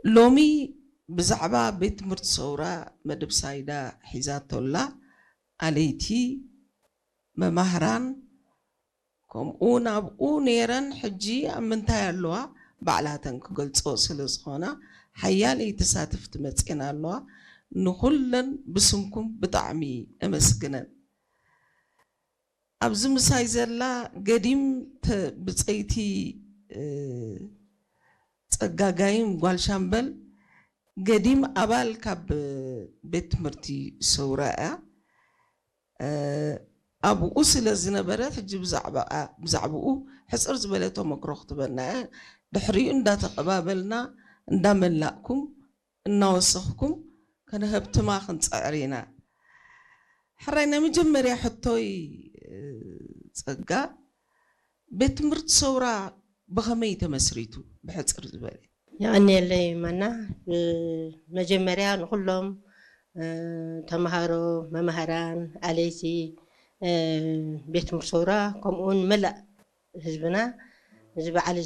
ሎሚ ብዛዕባ ቤት ትምህርቲ ሰውራ መደብ ሳይዳ ሒዛቶላ ኣለይቲ መማህራን ከምኡ ናብኡ ነይረን ሕጂ ኣብ ምንታይ ኣለዋ ባዕላተን ክገልጾ ስለ ዝኾና ሓያለይ ተሳተፍቲ መጽኤን ኣለዋ። ንኹለን ብስምኩም ብጣዕሚ እመስግነን። ኣብዚ ምሳይ ዘላ ገዲም ብፀይቲ ፀጋጋይም ጓል ሻምበል ገዲም ኣባል ካብ ቤት ትምህርቲ ሰውራ እያ። ኣብኡ ስለ ዝነበረት ሕጂ ብዛዕባኡ ሕፅር ዝበለ ተመክሮ ክትበና እያ። ድሕሪኡ እንዳተቐባበልና እንዳመላእኩም እናወሰኽኩም ከነሀብትማ ክንፅዕር ኢና። ሕራይ ናይ መጀመርያ ሕቶይ ጸጋ፣ ቤት ትምህርቲ ሰውራ ብኸመይ ተመስሪቱ? ብሕፅር ዝበለ። የቐንየለይ ማና። መጀመርያ ንኩሎም ተምሃሮ፣ መማህራን፣ ኣለይቲ ቤት ትምህርቲ ሰውራ ከምኡውን መላእ ህዝብና እዚ በዓል